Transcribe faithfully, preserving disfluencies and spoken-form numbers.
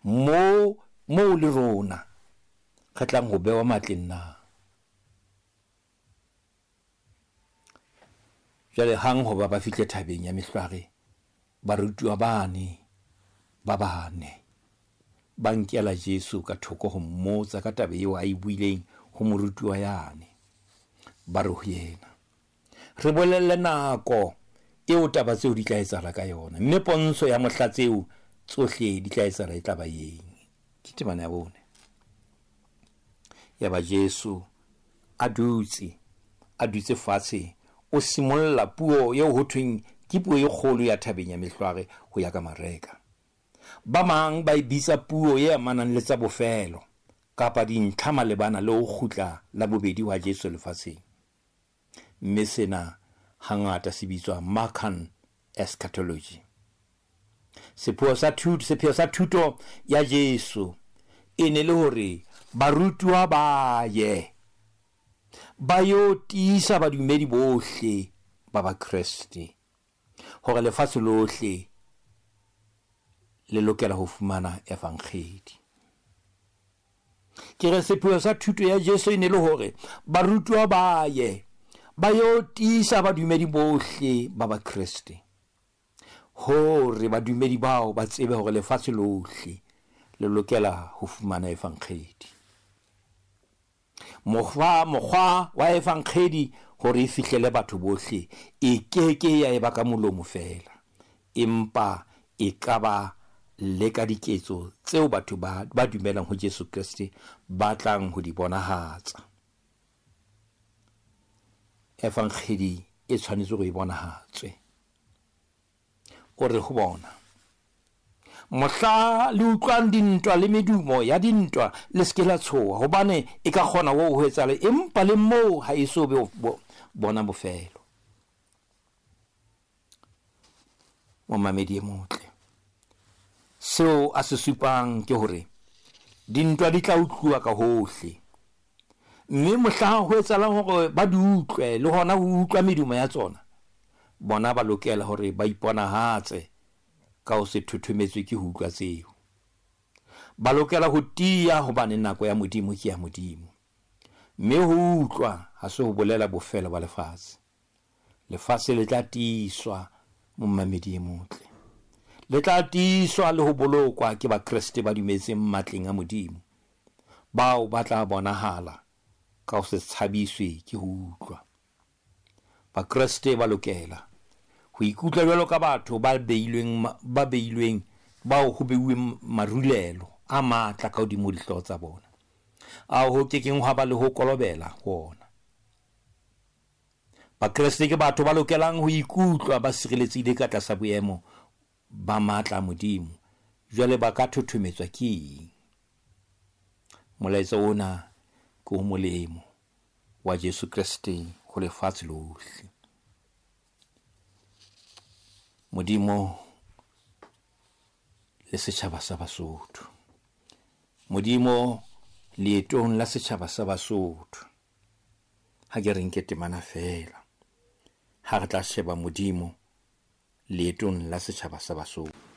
Moo moo le rona re tlang ho bewa matleng na? Jwale hang hoba ba fihle thabeng ya Mehlware, barutuwa bane ba bane ba nkela Jesu ka thoko ho mmotsa ka taba eo a e buileng ho morutuwa yane. Ba re ho yena, re bolelle nako eo taba tseo di tla etsahala ka yona, mme pontsho ya mohla tseo tsohle di tla etsahala e tla ba eng? Ke temana ya bone. Yaba Jesu a dutse, a dutse fatshe, o simolla puo eo ho thweng ke puo e kgolo ya thabeng ya Mehlware ho ya ka Mareka. Ba mang ba e bitsa puo e amanang le tsa bofelo kapa dintlha malebana le ho kgutla la bobedi wa Jesu lefatsheng. Mme sena hangata se bitswa Markan eschatology. Sepheo sa thuto, sepheo sa thuto ya Jesu e ne le hore barutuwa ba ye ba yo tiisa badumedi bohle ba Bakreste hore lefatshe lohle le lokela ho fumana evangeli. Ke re sepheo sa thuto ya Jesu e ne le hore barutuwa ba ye ba yo tiisa badumedi bohle ba Bakreste hore badumedi bao ba tsebe hore lefatshe lohle le lokela ho fumana evangeli. Mokgwa, mokgwa wa evangeli hore e fihlele batho bohle e keke ya eba ka molomo feela, empa e ka ba le ka diketso tseo batho ba, ba dumelang ho Jesu Kreste ba tlang ho di bonahatsa. Evangeli e tshwanetse hore e bonahatswe. O re ho bona, mohla le utlwang dintwa le medumo ya dintwa, le se ke la tshoha, hobane e ka kgona ho ho etsahala, empa le moo ha e so be bo-, bona bofelo. Momamedi e motle, seo a se supang ke hore dintwa di tla utluwa ka hohle, mme mohla ho etsahalang hore ba di utlwe le hona ho utlwa medumo ya tsona, bona ba lokela hore ba iponahatse ka ho se thothometswe ke ho utlwa tseo. Ba lokela ho tiya hobane nako ya Modimo ke ya Modimo, mme ho utlwa ha se ho bolela bofelo ba lefatshe. Lefatshe le tla tiiswa, momamedi e motle, le tla tiiswa le ho bolokwa ke Bakreste ba dumetseng matleng a Modimo, bao ba tla bonahala ka ho se tshabiswe ke ho utlwa. Bakreste ba lokela ho ikutlwa jwalo ka batho ba beilweng ma-, ba beilweng, bao ho beuweng marulelo a matla ka hodimo dihlooho tsa bona, ao ho kekeng hwa ba le ho kolobela ho ona. Bakreste ke batho ba lokelang ho ikutlwa ba sireletsehile ka tlasa boemo ba matla a Modimo. Jwale ba ka thothometswa ke eng? Molaetsa ona ke o molemo wa Jesu Kreste ho lefatshe lohle. Modimo le setjhaba sa Basotho. Modimo leetong la setjhaba sa Basotho. Ha ke re nke temana feela, ha re tla sheba Modimo leetong la setjhaba sa Basotho.